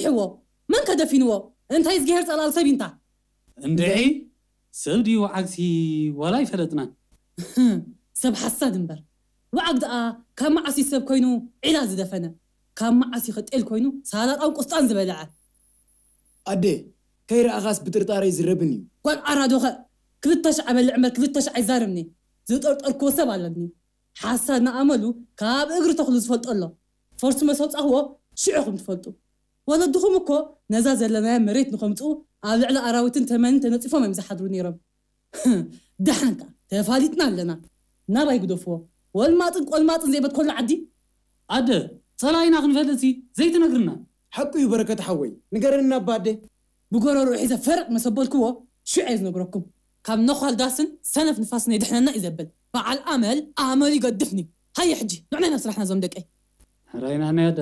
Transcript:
እዎ፣ መን ከደፊንዎ? እንታይ ዝገሄር ጸላል ሰብ ኢንታ? እንድዒ ሰብ ድዩ ዓግሲ ዋላ ኣይፈለጥናን። ሰብ ሓሳድ እምበር፣ ወዓግ ደኣ ካብ መዓስ እዩ ሰብ ኮይኑ ዒላ ዝደፈነ? ካብ መዓስ እዩ ጤል ኮይኑ ሳላጣን ቁስጣን ዝበልዐ? ኣደ፣ ከይረኣኻስ ብጥርጣረ ይዝረብን እዩ። ጓል ዓራዶኸ ክልተ ሽዓ በልዕ እምበር ክልተ ሽዓ ኣይዛረብኒ። ዝጠርጠርክዎ ሰብ ኣለኒ። ሓሳድ ንኣመሉ ካብ እግሪ ተኽሉ ዝፈልጦ ኣሎ። ፈርሱ መሰውፃኽዎ ሽዑኹም ትፈልጡ። ወለድኹም እኮ ነዛ ዘለናያ መሬት ንኸምፅኡ ኣብ ልዕሊ ኣራዊትን ተመንን ተነፂፎም እዮም ዝሓድሩ ነይሮም። ደሓንካ ተፋሊጥና ኣለና። ናባይ ግደፍዎ። ወልማጥን ቆልማጥን ዘይበት ኮሎ ዓዲ። ኣደ፣ ጸላኢና ክንፈልጥሲ ዘይትነግርና? ሓቁ እዩ በረከት ሓወይ፣ ንገረኒ ኣባ ኣደ። ብጎረሮ ሒዘ ፈረጥ መሰበልክዎ ሽዑ እየ ዝነግረኩም። ካብ ነዃል ዳስን ሰነፍ ንፋስን የድሕነና እዩ ዘብል። በዓል ኣመል ኣመሉ ይገድፍኒ። ሃየ ሕጂ ንዕናይ ናብ ስራሕና ዞም ደቀይ። ሕራይና ናይ ኣደ።